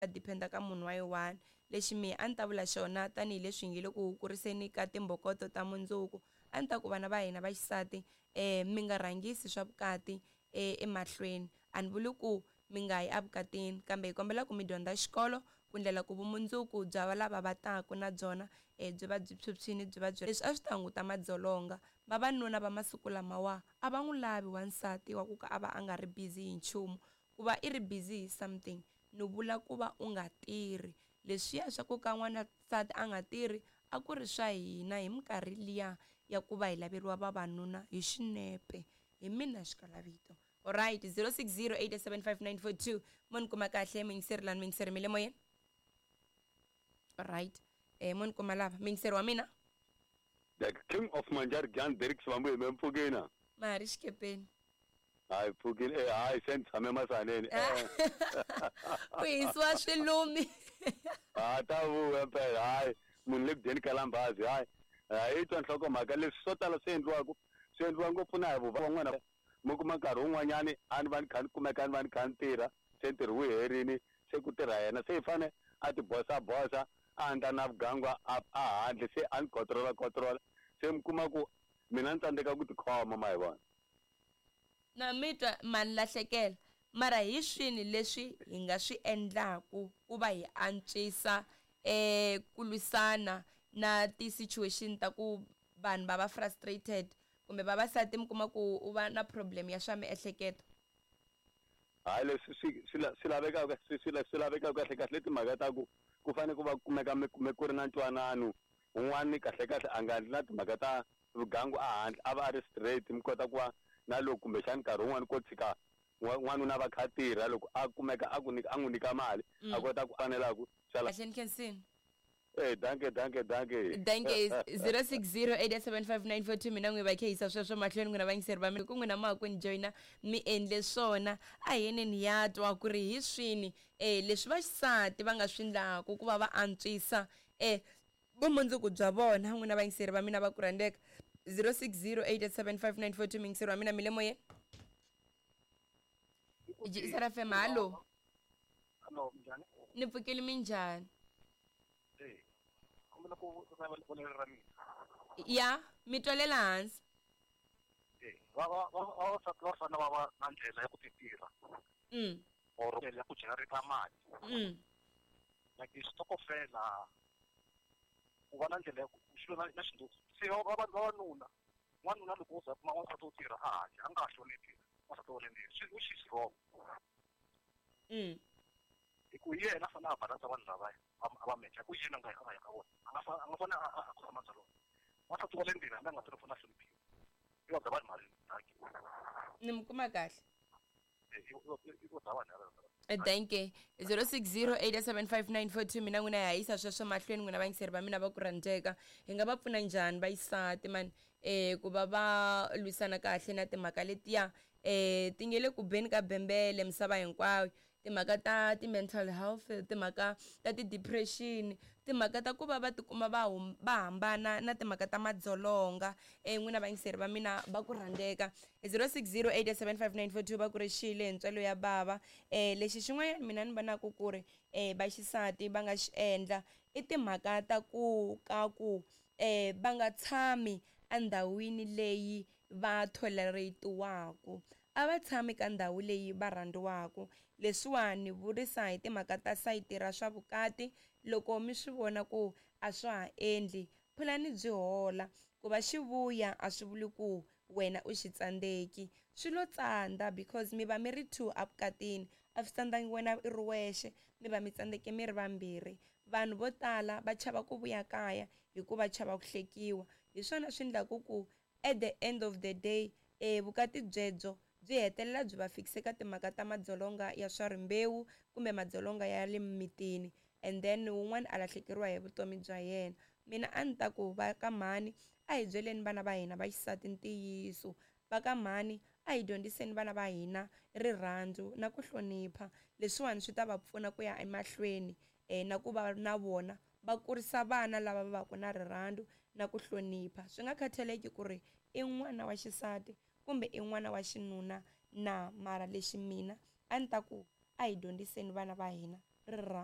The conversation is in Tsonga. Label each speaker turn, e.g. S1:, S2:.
S1: Depend-a ka munhu wa yi one. Lexi mehe a ni ta vula xona tanihileswi hi nge le ku kuriseni ka timbokoto ta mundzuku, a ni ta ku vana va hina va xisati mi nga rhangisi swa vukati emahlweni. A ni vuli ku mi nga yi evukatini kambe hi kombela ku mi dyondza xikolo ku ndlela ku vumundzuku bya lava va taka na byona byi va byi phyuphyile byi va byi. Leswi a swi ta hunguta madzolonga. Vavanuna va masiku lamawa a va n'wi lavi wansati wa ku ka a va a nga ri busy hi nchumu. Ku va i ri busy hi something ni vula ku va u nga tirhi. Leswiya swa ku ka n'wansati a nga tirhi a ku ri swa hina hi minkarhi liya ya ku va hi laveriwa vavanuna hi xinepe. Hi mina xikalavito. Alright, 0608755942 mo ni kuma kahle muyingiseri lani muyingiseri mi le moyeni? Alright, mo ni kuma lava muyingiseri wa mina.
S2: The King of Manjari Jan Derek Sibambu hi me mpfukeni.
S1: Ma ha ri xikepeni.
S2: Hayi pfukile eh hayi se ni tshame masaneni eh.
S1: Ku hisiwa swilumi.
S2: Ha ta vuya mpela hayi munhu le ku dyeni ka lambazi hayi hayi twa nhlokomhaka leswi swo tala swi endliwaka swi endliwa ngopfu na hi van'wana mi kuma nkarhi wun'wanyani a ni va ni kha ni kumeka ni va ni kha ni tirha se ntirho wu herini se ku tirha yena se i fane a ti bosa bosa a endla na vugangu a handle se a ni kotrola kotrola se mi kuma ku mina ni tsandzeka ku tikhoma ma hi vona.
S1: Na mi twa ma ni lahlekela. Mara hi swini leswi hi nga swi endlaku ku va hi antswisa ku lwisana na ti-situation ta ku vanhu va va frustrated kumbe vavasati mi kuma ku u va na problem ya swa miehleketo?
S2: Hayi leswi swi swi swi lavekaka swi swi swi lavekaka kahle kahle timhaka ta ku ku fanele ku va kumeka mi kume ku ri na ntwanano un'wani kahle kahle a nga endli na timhaka ta vugangu a handle a va a ri straight mi kota ku va na loko kumbexani nkarhi wun'wani ko tshika n'wanuna va kha tirha loko a kumeka a ku nyika a n'wi nyika mali a kota ku fanelaku
S1: sala. Kahle ni khensini.
S2: Eh danke danke danke.
S1: Danke 0608755942 mina n'wi va khehisa sweswo mahlweni n'wina vayingiseri va mina ku n'wina ma ha ku ni joyina mi endle swona a hi yeneni ya twa ku ri hi swini leswi vaxisati va nga swi ndlaku ku va va antswisa vumundzuku bya vona. N'wina vayingiseri va mina va ku rhandzeka 0608755942 muyingiseri wa mina mi le moyeni Jisara FM hallo.
S3: Hallo, minjhani?
S1: Ni pfukile minjhani?
S3: Eh, kombela ku vonelo ra mina.
S1: Ya, mi twalela hansi.
S3: Eh, va va vavasati va fanele va va na ndlela ya ku ti tirha. Or ndlela ya ku generate mali. Like xitokofela ku va na ndlela ya ku xilo na na xindzhuti. Se va va vavanuna, n'wanuna loko wo za kuma n'wansati wo tirha a handle a nga ha hloniphi n'wansati wa le ndzeni, swi which is wrong. Hi ku hi yena a fanele a balansa vanhu lavaya a va mecha hi ku yena a nga a nga ya ka vona a nga a nga fanele a khosa madzolonga. N'wansati wa le ndzeni hambi a nga tirhi u fanele a hloniphiwa. I vabya vanhu mali dankie.
S1: Ni mi kuma kahle.
S3: Eh,
S1: Danke 0608755942 mina n'wina ya yisa sweswo mahlweni n'wina vayingiseri va mina va ku rhandzeka hi nga va pfuna njhani vayisati mani ku va va lwisana kahle na timhaka letiya ti nge le ku beni ka bembele misava hinkwayo timhaka ta ti-mental health timhaka ta ti-depression timhaka ta ku va va tikuma va va hambana na timhaka ta madzolonga n'wina vayingiseri va mina va ku rhandzeka 06087594 va ku ri xile hi ntswalo ya bava lexi xin'wanyana mina ni vonaka ku ri vaxisati va nga xi endla i timhaka ta ku ka ku va nga tshami endhawini leyi va tolerate-waku a va tshami ka ndhawu leyi va rhandziwaka. Leswiwani ni vurisa hi timhaka ta sayiti ra swa vukati, loko mi swi vona ku a swa ha endli, phulani byi hola. Ku va xi vuya a swi vuli ku wena u xi tsandzeki. Swi lo tsandza because mi va mi ri two evukatini, a swi tsandzangi wena i ri wexe, mi va mi tsandzeke mi ri vambirhi. Vanhu vo tala va chava ku vuya kaya hikuva chava ku hlekiwa. Hi swona swi endlaka ku at the end of the day vukati byebyo byi hetelela byi va fikise ka timhaka ta madzolonga ya swa rimbewu kumbe madzolonga ya le mimitini and then wun'wana a lahlekeriwa hi vutomi bya yena. Mina a ni ta ku va ka mhani a hi byeleni vana va hina va xisati ntiyiso, va ka mhani a hi dyondziseni vana va hina rirhandzu na ku hlonipha, leswiwani swi ta va pfuna ku ya emahlweni na ku va na vona va kurisa vana lava va vaka na rirhandzu na ku hlonipha swi nga khathaleki ku ri i n'wana wa xisati kumbe i n'wana wa xinuna na mara lexi mina a ni ta ku a hi dyondziseni vana va hina. Rirhandzu.